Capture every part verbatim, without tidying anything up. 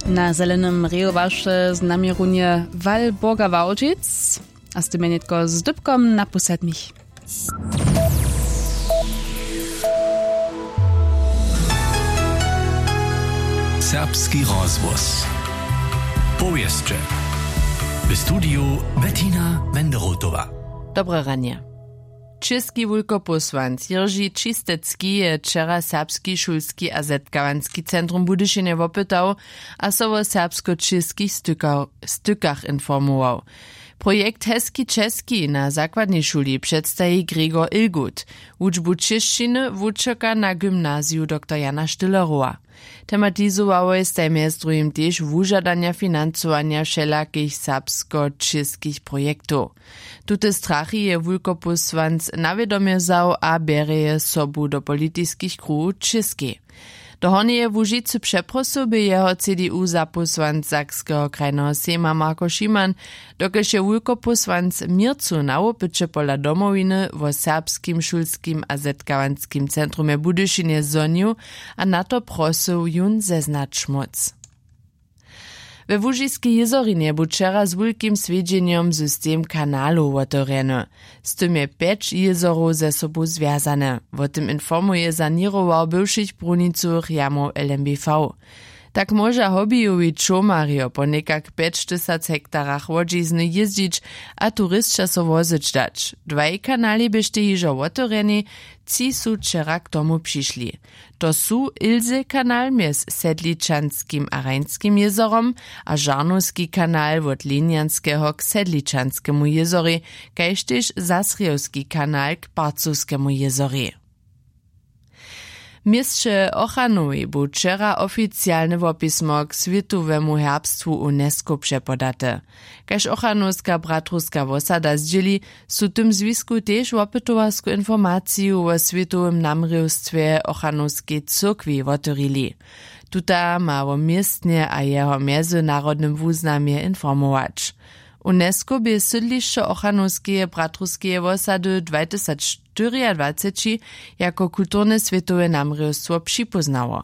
Na zelenym reju waše z nami runje walborga wałdźic, a z tym je nětko z dypkom na pósadnich. Serbski rozhłos. Powěsće. W studiju Bettina Wenderotowa. Dobre ranje. Česki wulkopósłanc Jirži Čistecki je wčera serbski šulski a zetkawanski centrum w Budyšinje wopytał a so wo serbsko-čěskich stykach informował. Projekt Heski Česki na zakładnej šuli předstaji Gregor Ilgut. Wučbu čěšćiny wučerka na gymnaziju doktor Jana Stillerowa. Tematizowałoj staj mjez druhim tež wužadanja financowanja wšelakich serbsko-čěskich projektow. Tute strachi je wulkopósłanc na wědomje wzał a bjerje je sobu do politiskich kruhow w Čěskej. Do Hornjeje Łužicy přeprosył bě jeho C D U zapósłanc Sakskeho krajneho sejma Marko Šiman, dokelž je wulkopósłanc w měrcu na wopyće pola Domowiny wo serbskim šulskim a zetkawanskim centrumje w Budyšinje zhonił a na to prosył jón zeznać móc. We Łužiskej jězorinje bu wčera z wulkim swjedźenjom system kanalow wotewrjeny. Z tym je pjeć jězorow ze sobu zwjazane. Wo tym informuje saněrował bywšich brunicowych jamow L M B V. Tak móža hobbyjowi čołmarjo po někak pjećtysac hektarach łodźizny jězdźić a turisća so wozyć dać. Dwaj kanali běštej hižo wotewrjeni, tři su wčera k tomu přišli. To su Ilse kanal mjez Sedličanskim a Rajnskim jězorom a Žarnowski kanal wot Linjanskeho k Sedličanskemu jězorej, kaž tež Zasrjewski kanal k Parcowskemu jězorej. W měsće Ochranowej bu wčera oficialne wopismo k swětowemu herbstwu UNESCO přepodate. Kaž Ochranowska bratrowska wosada zdźěli, su w tym zwisku tež wopytowarsku informaciju wo swětowym namrěwstwje Ochranowskeje cyrkwi wotewrili. Tuta ma wo městnje a jeho mjezynarodnym wuznamje informować. UNESCO bě sydlišćo Ochranowskeje bratrowskeje wosady dwajtysacštyriadwaceći jako kulturne swětowe namrěwstwo připóznało.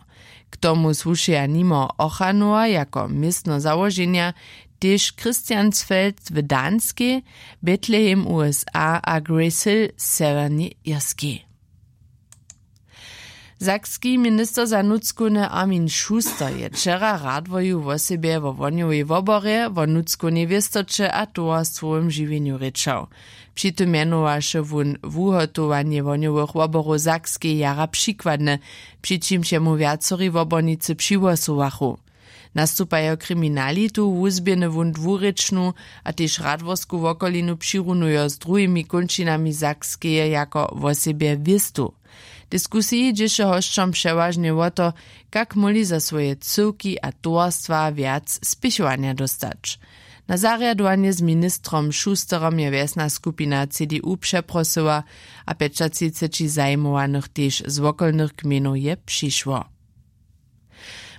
K tomu słušeja nimo Ochanowa jako městno załoženja tež Christiansfeld w Danskej, Betlehem USA a Grace Hill w Sewjernej Irskej. Sakski minister za nutřkowne Armin Schuster je wčera radworju wosebje wo wohnjowej woborje, wo nutřkownej wěstoće a towarstwowym žiwjenju rěčał. Při tym mjenowaše wón wuhotowanje wohnjowych woborow Sakskej jara přikładne, při čimž jemu wjacori wobornicy přihłosowachu. Nastupajo kriminalitu wuzběhny wón dwurěčnu a tež radworsku wokolinu přirunujo z druhimi kónčinami Sakskeje jako wosebje wěstu. W diskusiji dźěše hosćom přewažnje wo to, kak móhli za swoje cyłki a towarstwa wjac spěchowanja dóstać. Na zarjadowanje z ministrom Schusterom je wjesna skupina C D U přeprosyła a pjećatřiceći zajimowanych tež z wokolnych gmejnow je přišło.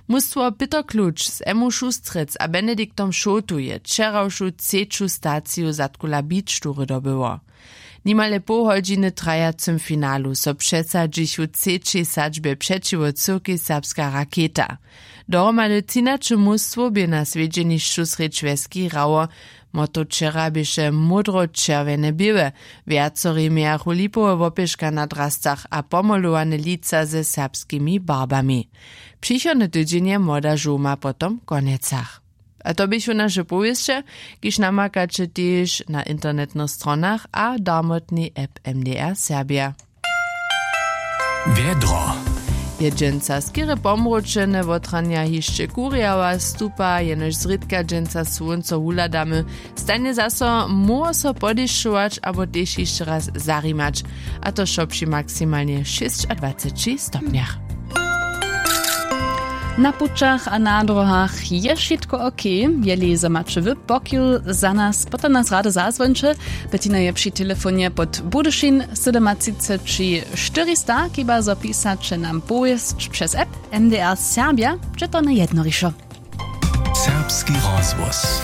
Mustwo Pětr Kluč z Emmu Šustrec a Benediktom Šołtu je wčerawšu třeću staciju Zadkula Beach Toury dobyło. Nimale poł hodźiny w trajacym finalu so přesadźichu w třećej sadźbje přećiwo cyłkej Serbska raketa. Dohromady třinaće mustwow bě na swjedźenišću srjedź wjeski hrało. Motto wčera běše módro-čerwjene běłe. Wjacori mějachu lipowe wopěška na drascach a pomolowane lica ze serbskimi barbami. Přichodny tydźeń je młoda žołma potom w Konjecach. A to běchu naše powěsće, kiž namakaće tež na internetnych stronach a darmotnej app M D R Serbja. Wjedro. Je dźensa skerje pomročene, wotranja hišće kurjała stupa, jenož zrědka dźensa słónco wuhladamy. Stajnje zaso móhło so podešćować abo tež hišće raz zarimać, a to wšo při maksimalnje šěsćadwaceći stopnjach. Na pućach a na dróhach je wšitko ok. Jeli zo maće wy pokiw za nas, potom nas rady zazwońće. Bettina je při telefonje pod Budyšin sydomatřiceći štyrista, kiba zo pisaće nam powěsć přez app M D R Serbja, će to najjednorišo. Serbski rozhłos.